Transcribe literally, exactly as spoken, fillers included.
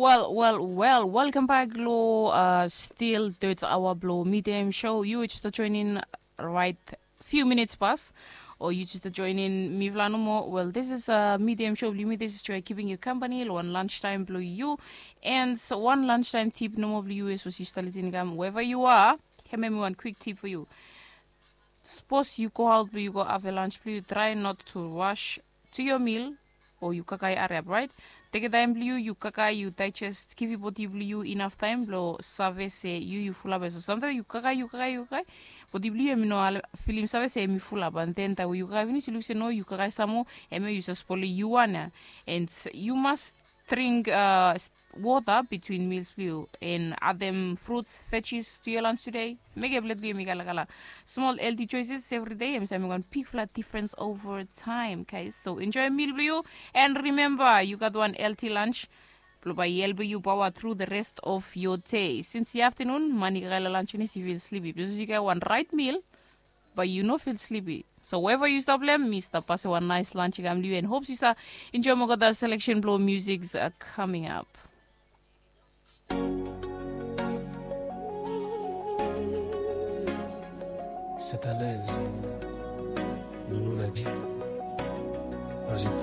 Wel, wel, wel, welcome back lo uh, still third hour blo Midday Show. Yu just join in right few minutes pas. O yu just join in mifla nomo. Well, this is uh, Midday Show blo yumi. This is Joy keeping you company lo one lunch time blo yu. And one lunch time tip nomo blo yu is was yu start listening kam wherever you are. Hemi one quick tip for you. Sapos yu go aot blo yu go have a lunch blo yu, try not to rush to your meal o yu kakae ariap, right? Teke taem blo yu, yu kakae, yu digest, givim bodi blo yu inaf taem blo save se yu yu fulap. So samtaem yu kakae, yu kakae, yu kakae, bodi blo yu hemi no filim save se hemi fulap. And then taem we yu kakae finis yu luk se no, yu kakae sam moa, hemia yu save spolem yu wan ya. And yu mas dring uh, wota between meals blo yu and adem fruits, veggies to your lunch today. Mekem plate blo yu hemi kalakala. Small healthy choices every day hemi save mekem wan bigfala difference over time, guys. So enjoy meal blo yu. And remember, yu gat wan healthy lunch blo bae i helpem yu power through the rest of your day. Since i afternoon, man i kakae lo lunch finis i feel sleepy. Because yu kakae wan right meal, but yu no feel sleepy. So wherever yu stap lem, mi stap pasem wan nice lunch i kam lo yu and hopes yu stap enjoy moa gat selection blo music uh, coming up. C'est à l'aise. Nounou l'a dit. Pas une